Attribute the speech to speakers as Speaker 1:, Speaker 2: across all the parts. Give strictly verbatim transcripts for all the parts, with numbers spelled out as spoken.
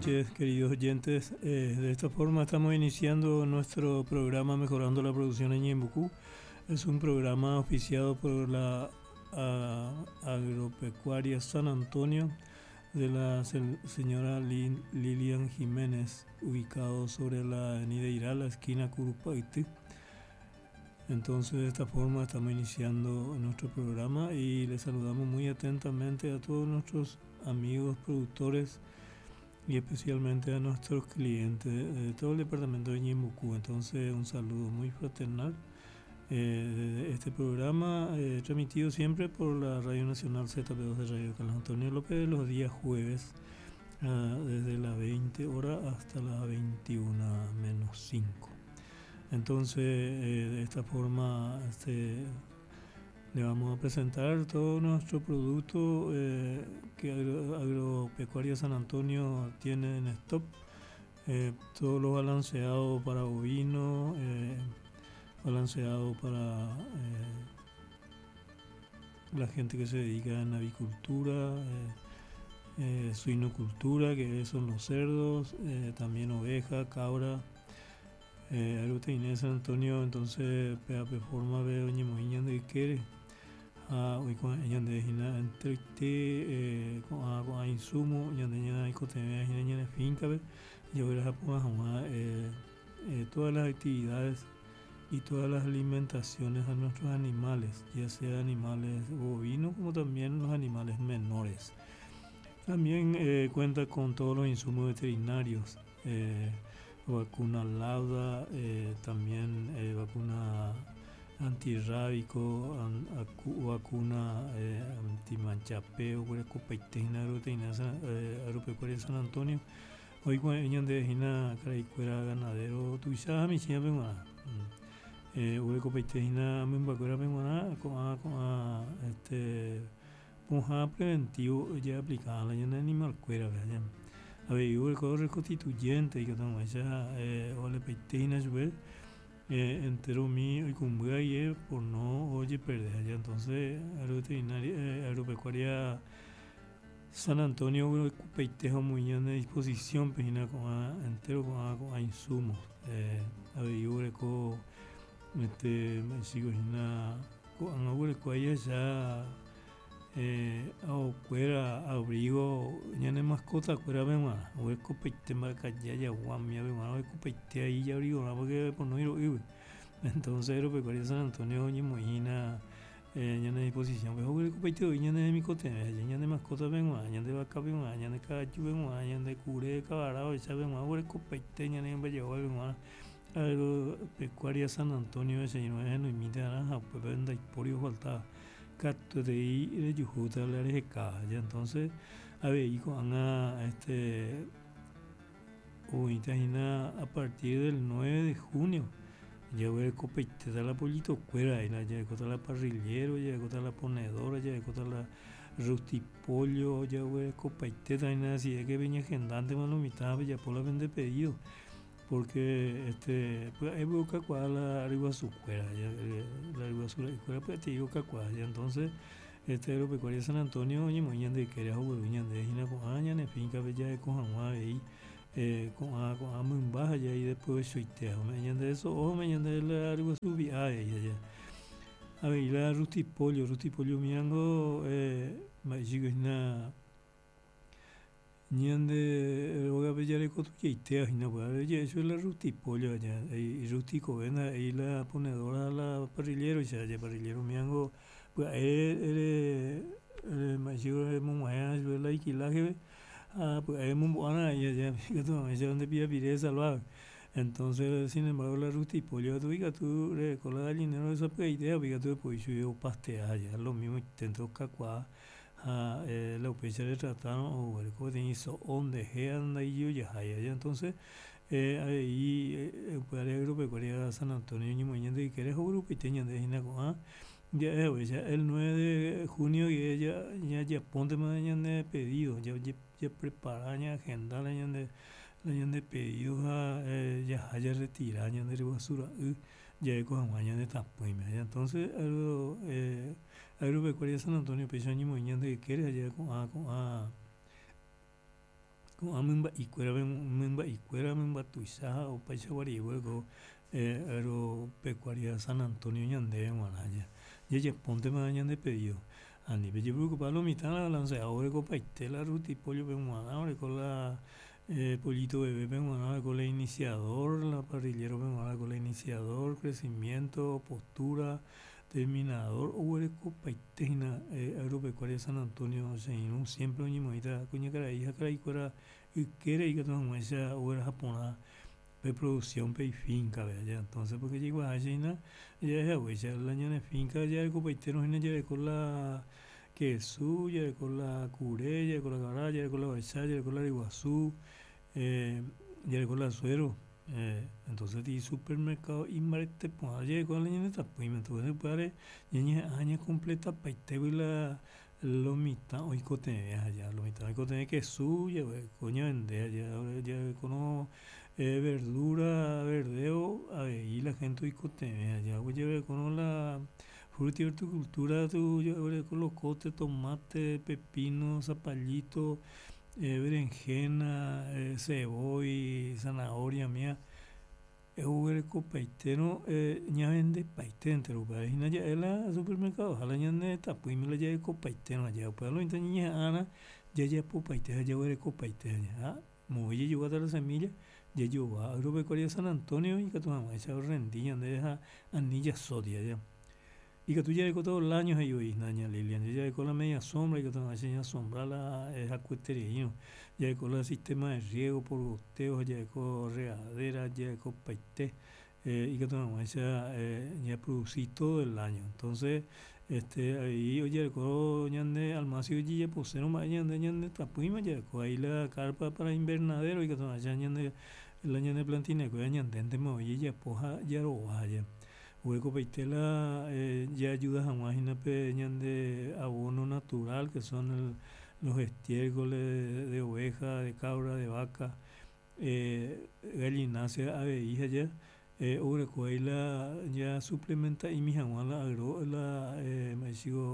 Speaker 1: Noches, queridos oyentes. Eh, de esta forma estamos iniciando nuestro programa Mejorando la Producción en Ñeembucú. Es un programa auspiciado por la a, Agropecuaria San Antonio de la señora Lilian Jiménez, ubicado sobre la avenida Irala, esquina Curupaity. Entonces, de esta forma estamos iniciando nuestro programa y les saludamos muy atentamente a todos nuestros amigos productores y especialmente a nuestros clientes de todo el departamento de Ñeembucú. Entonces, un saludo muy fraternal. Eh, este programa eh, transmitido siempre por la Radio Nacional Z P dos de Radio Carlos Antonio López los días jueves, ah, desde las veinte horas hasta las veintiuna menos cinco. Entonces, eh, de esta forma, este, le vamos a presentar todo nuestro producto, eh, que Agro, Agropecuaria San Antonio tiene en stock, eh, todo lo balanceado para bovino, eh, balanceado para, eh, la gente que se dedica en avicultura, eh, eh, suinocultura, que son los cerdos, eh, también oveja, cabra, eh, Agropecuaria San Antonio. Entonces, P A P forma de Oñemoiña de Quere, a hoy con ella de Gina entre te, eh, con a, con a insumo, ñande ña y cote, ña, ña, ña, finca, ve, yo voy a Japón, a, eh, eh, todas las actividades y todas las alimentaciones a nuestros animales, ya sea animales bovinos como también los animales menores. También, eh, cuenta con todos los insumos veterinarios, eh, vacuna lauda, eh, también, eh, vacuna antirrábico, an-, acu-, vacuna, eh, antimanchapeo, cuerecopaitina, agropecuaria, eh, agropecuaria San Antonio. Hoy con ella de Gina Caraicuera ganadero, tuisa mi china penguana. Eh, Urecopaitina, mimbacuera penguana, con a, con a, este, punja preventivo ya aplicada la llena animal cuera, ¿verdad? A ver, yo el reconstituyente y que tengo esa, eh, ole peitina, yo, eh, entero mío y con y por no oye perder ya. Entonces, agroveterinaria, eh, agropecuaria San Antonio, urecopeitejo muy en disposición, pejina con a, entero con a, con a insumos. Eh, a ver, yo ureco, este, me sigo hina, con a ureco ella ya, eh, a abrigo, ya no mascota, cuera ve más, o es copeite, marca ya, ya, guam, ya ve más, o es copeite ahí, ya abrigo, no, porque por no ir, ir. Entonces, agropecuaria San Antonio, oye, mojina, eh, ya no disposición, pues, o es copeite, oye, ya no es mi cote, ya, ya no mascota, ve más, ya no vaca, ve más, ya no caballo, ve más, ya no cure, cabarao, ya ve más, o es copeite, ya no es valle, ve más. Agropecuaria San Antonio, ese no es, no imita naranja, pues, venda y porio faltaba. Cato de ahí, de Yujuta, la R G K, ya entonces, a ver, y con a, este, o a partir del nueve de junio, ya voy a copeite la pollito cuera, y la, ya voy a la parrillero, ya voy a la ponedora, ya voy a la rustipollo, ya voy a copeite también, así es que venía agendante, mano, mitad, ya por la vende pedido, porque, este, pues, ahí voy a cacuar la arriba su cuera, ya, eh, la arriba su cuera, pues, te digo cacuar, ya, entonces, este, agropecuaria San Antonio, oye, moñan de quería jugar, uñan de gina con aña, ne finca, bella de con agua, ahí, eh, con a, con a muy baja, ya, y después suitea, me de eso, o me de la arriba su vía, ya, ya. A ver, y la rustipollo, rustipollo miango, eh, ma, chico, es una ñande oga bella de cotucheitea, y no, pues, a ver, ya, eso es la rustipollo, ya, y, y rustico, ven, ahí la ponedora, la parrillero, ya, ya, parrillero miango, pues, él, él, él, ma, chico, es muy buena, yo la iquilaje, ah, pues, es muy buena, ya, ya, fíjate, ma, ya, donde pilla piré salvado. Entonces, sin embargo, la rustipollo, tú, diga, tú, le cola gallinero, esa pues, idea, diga, tú, pues, yo pastea, ya, lo mismo, intento cacuá, a, eh, la upecha le trataron, o el co de hizo onde anda y yo ya, ya, ya, entonces, eh, ahí, eh, pues, el agropecuaria San Antonio, ni muy de que eres grupo y teñan de Gina con, ah, ya, eh, pues, ya el nueve de junio, y ella, ya, ya ponte más de pedido, ya, ya, ya prepara, ya agenda, ya de, ya de pedido, ya, eh, ya haya retirado, ya de basura, uh, ya de con ya de tapuime, ya, entonces, agro, eh, agropecuaria San Antonio, pues, ya ni muy de que eres, ya con, ah, con, ah, Ko'ã mymba'ikuéra mymba'ikuéra mymba tuicha ha opaichagua ko eh, agropecuaria San Antonio ñandéve g̃uarã jajapóntema ñande pedido ani pejepreocupa lo mitã la balanceado orekopaite la rutipollo-pe g̃uarã oreko la eh, pollito bebé-pe g̃uarã oreko la iniciador, la parrillero-pe g̃uarã oreko la iniciador, crecimiento, postura, terminador oguerekopaite hína eh, agropecuaria San Antonio che irũ siempre oñemoĩta kuñakarai ha karaikuéra ykére ikatu hag̃uáicha ogueraha porã pe producción pe ifinca-pe entonces porque jaikuaaháicha hína jahechaguéicha la ñane finca jarekopaitérõ hína jareko la kesu, jareko la kure, jareko la kavara, jareko la ovecha, jareko la ryguasu, eh, jareko la suero, eh, entonces ti supermercado imbarete porã jareko la ñane tapỹime entonces upévare ñañeha'ã ñacompletapaitévi la lo mitã oikotevẽ aja lo mitã oikotevẽ kesu jaguereko ñavende jarekorõ eh, verdura verdeo avei la gente oikotevẽ aja jaguerekórõ la fruta y horticultura tu jaguereko locote, tomate, pepino, zapallito, eh, berenjena, eh, sevói, zanahoria umía oguerekopaitérõ eh, ñavendepaite entero upéva hína ja'e la supermercado-ha la ñane tapỹime la jarekopaitérõ aja upéva lo mitã ñañeha'ãrã jajapopaite ha jaguerekopaite ha moõ jajoguáta la semilla jajogua agropecuaria San Antonio ikatu hag̃uáicha orrendi ñandéve ha ani jasóti aja ikatu jareko todo el año he'i voi ña Lilian jareko la media sombra ikatu hag̃uáicha ñasombra la hakuetereírõ jareko la sistema de riego por goteo jareko regadera jarekopaite eh, ikatu hag̃uáicha eh, ñaproduci todo el año entonces este avei ojereko ñande almacio ojejaposérõ mba'e ñande ñane tapỹima jareko ahí la carpa para invernadero ikatu hag̃uáicha ñande la ñane plantina-kuéra ñandéntema voi jajapo ha jarova aja oguerekopaite la eh, jaayuda hag̃ua hína pe ñande abono natural que son el, los estiércoles de oveja, de cabra, de vaca, eh, gallinácea avei aja eh, oguereko ahí la ya suplementa'imi hag̃ua la agro la eh,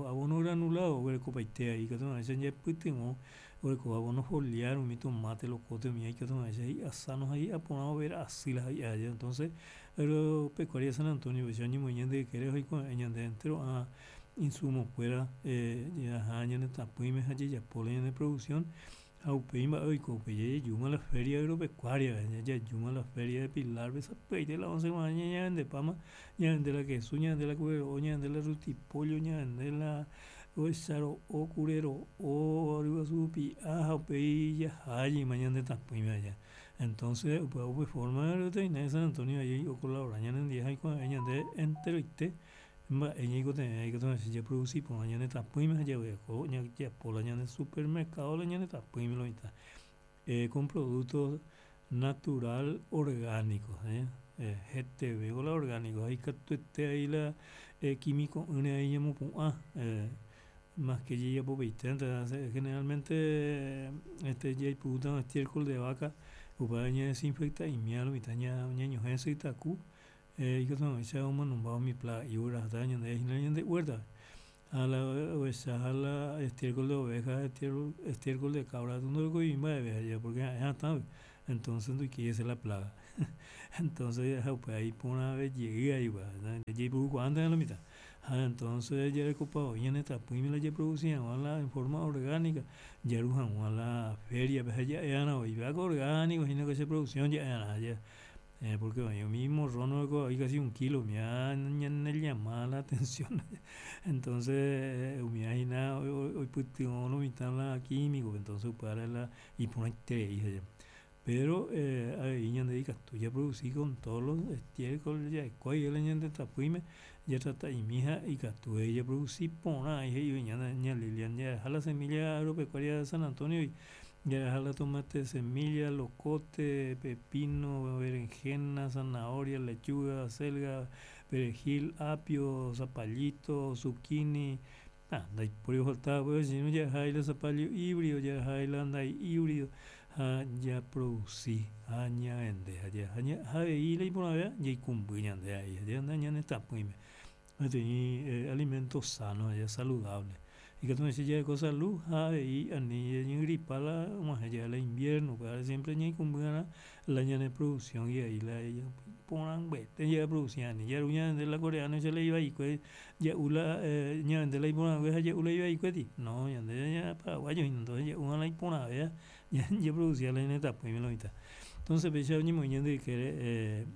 Speaker 1: abono granulado oguerekopaite ahí ikatu hag̃uáicha jaipytyvõ oguereko abono foliar umi tomate, locote umíva ikatu hag̃uáicha hi'a sano ha hi'a porã overa asy la hi'a aja entonces agropecuaria San Antonio péicha oñemoĩ ñande ykére oikuave'ẽ ñande entero ã insumo-kuéra eh, jaha ñane tapỹime ha jajapo la ñane producción ha upéi mba'e oiko upéi jajejúma la feria agropecuaria jajúma la feria de Pilar-pe sapy'aite la once g̃uarã ñañavendepáma ñavende la kesu, ñavende la kure ro'o, ñavende la rutipollo, ñavende la ovecha ro'o, kure ro'o, ryguasu rupi'a ha upéi jahájeima ñande tapỹime aja entonces upéva upe forma veterinaria San Antonio ahí ocolabora ñanendie ha oikuave'ẽ ñande enteroite mba'e ñaikotevẽ ikatu hag̃uáicha japroduci porã ñane tapỹime ha jaguereko jajapo la ñande supermercado la ñane tapỹime lo mitã eh, con productos natural orgánico eh, eh, heteve la orgánico ha ikatuete ahí la eh, químico'ỹre ahí ñamopu'ã eh, más que jajapopaiténte generalmente este jaipurúta estiércol de vaca upéva ñadesinfecta'imia lo mitã ñañohẽ sytaku eh, ikatu hag̃uáicha omanomba umi plaga ogueraháta ñande hína ñande huerta ha la ovecha ha la estiércol de oveja, estiércol, estiércol de cabra ndorekói mba'eve aja porque ha'e hatãve entonces ndoikéi hese la plaga entonces upéva iporãve jey ahí jaipurukuaánte lo mitã ha entonces jarekopa voi ñane tapỹime la japroduci hag̃ua la en forma orgánica jaru hag̃ua la feria-pe ha ja'e'arã voi péako orgánico hína ko che producción ja'e'arã aja eh, porque oĩ umi morrón oreko voi casi un kilo umíva ñane llama la atención entonces umíva hína oipytyvõ lo mitã la químico entonces upévare la iporãiterei aja pero eh, avei ñande ikatu japroduci con todos los estiércol jaikuaáva la ñande tapỹime jatrata'imi ha ikatu japroduci porã he'i ña Lilian jaha la semilla agropecuaria de San Antonio jaraha la tomate semilla, locote, pepino, berenjena, zanahoria, lechuga, acelga, perejil, apio, zapallito, zucchini, ah, ndaipóri ofaltaba pues sino jaha la zapallo híbrido, jaha la andai híbrido ha japroduci ha ñavende ha avei la iporãvéva jaikumby ñande ahí ñane tapỹime peteĩ eh, alimento sano saludable. Ikatu jareko salud ha avei ani ñañegripa la og̃uahẽ jave la invierno upévare siempre ñaikũmby'arã la ñane producción guiai la iporãnguete japroduci ani jaru ñande la coreano-icha la ivaikue ja'u la ñavende la iporãngue ha ja'u la ivaikuéti no ñande ña paraguayo hína entonces ja'uva'erã la iporãvéva japroduciva la ñane retãpýme lo mitã. Entonces péicha oñemoĩ ñande ykére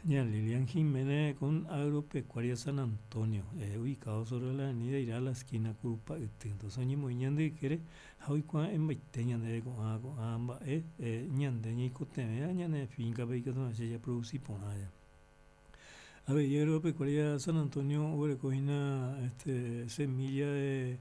Speaker 1: ña Lilian Giménez con Agropecuaria San Antonio ubicado sobre la avenida Irala esquina Kurupa'yty entonces oñemoĩ ñande ykére ha oikuaa'ẽmbaite ñandéve ko'ã ko'ã mba'e ñande ñaikotevẽva ñane finca-pe ikatu japroduci porã. Avei Agropecuaria San Antonio oguerekohína este semilla de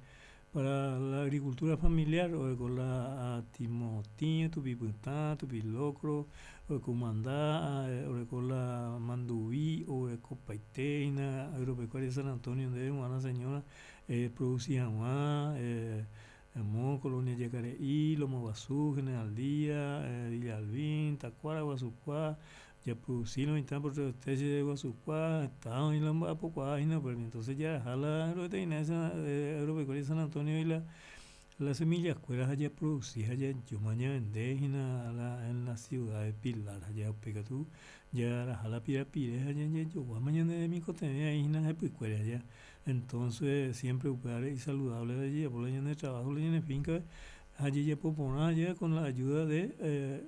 Speaker 1: para la agricultura familiar oreko la timotĩ, tupipytã, tupilocro, oreko kumanda, oreko la manduvi, orekopaitehína Agropecuaria San Antonio ndéve g̃uarã señora eproduci hag̃ua amo Colonia Jakare'i, Loma Guasu, General Díaz, Villalbín, Takuara, Guasukua japroduci lo mitã porque Guasukua heta oĩ la omba'apokuaahína upérupi entonces jaraha la agroveterinaria Agropecuaria San Antonio la la semilla-kuéra ha japroduci ha jajúma ñavendehína la en la ciudad de Pilar ha upéikatu jaraha la pirapire ha jajoguáma ñane remikotevẽ aĩhína hepykuére aja entonces siempre upévare isaludable jajapo la ñande trabajo la ñane finca ha jajapo porã aja con la ayuda de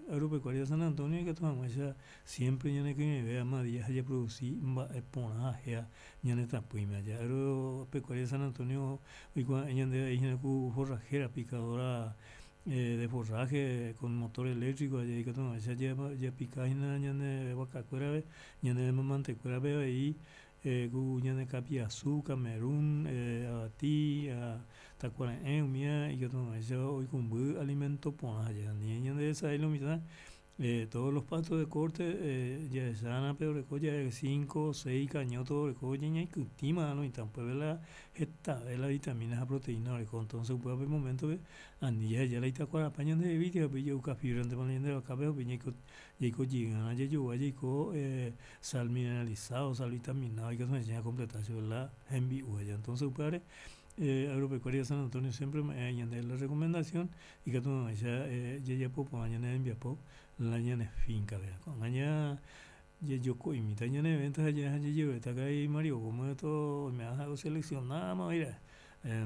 Speaker 1: Agropecuaria San Antonio ikatu hag̃uáicha siempre ñanekyre'ỹve ama día ha japroduci mba'e porã ha ñane retãpýme aja Agropecuaria San Antonio oikuaa'ẽ ñandéve aĩhína ku forrajera picadora de forraje con motor eléctrico aja ikatu hag̃uáicha japikahína ñane vakakuérape ñane mamantekuérape avei ku ñane kapi'asu, Camerún, avati, takuare'ẽ umíva ikatu hag̃uáicha oikũmby alimento porã ani ñandesarái lo mitã todos los pastos de corte jahechána pe oreko jave cinco, seis kañóto oreko ñaikytĩma lo mitã upépe la hetave la vitamina ha proteína oreko entonces upévape momento-pe ani jaheja la itakuarapa ñandehegui upéi ja'uka fibra-ntema la ñande vakápe upéi jaiko jeyva'erã jajogua jaiko sal mineralizado, sal vitaminado ikatu hag̃uáicha ñacompleta chupe la hembi'u aja entonces upévare Agropecuaria San Antonio siempre ome'ẽ ñandéve la recomendación ikatu hag̃uáicha jajapo porã ñane rembiapo la ñane finca-pe ko'ág̃a ña jajoko'imíta ñane venta ha jajeruréta karai Mario Gómez oime'ã oseleccionáma oĩra'e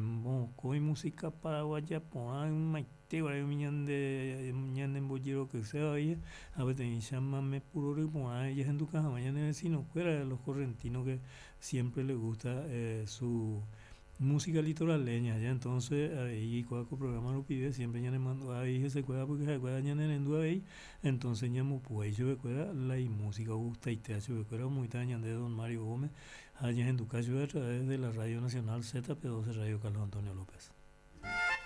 Speaker 1: mokõi música paraguaya porã ymaiteguare umi ñande ñanembojerokyséva ha peteĩ chamame purory porã jahenduka hag̃ua ñane vecino-kuéra los correntinos que siempre les gusta su música litoraleña entonces avei kóa ko programa rupive siempre ñanemandu'a avei hesekuéra porque ha'ekuéra ñanerendu avei entonces ñambopu'ái chupekuéra la imúsica ogustaitéva chupekuéra omoĩta ñande don Mario Gómez ha ñahenduka chupe a través de la Radio Nacional Z P doce Radio Carlos Antonio López.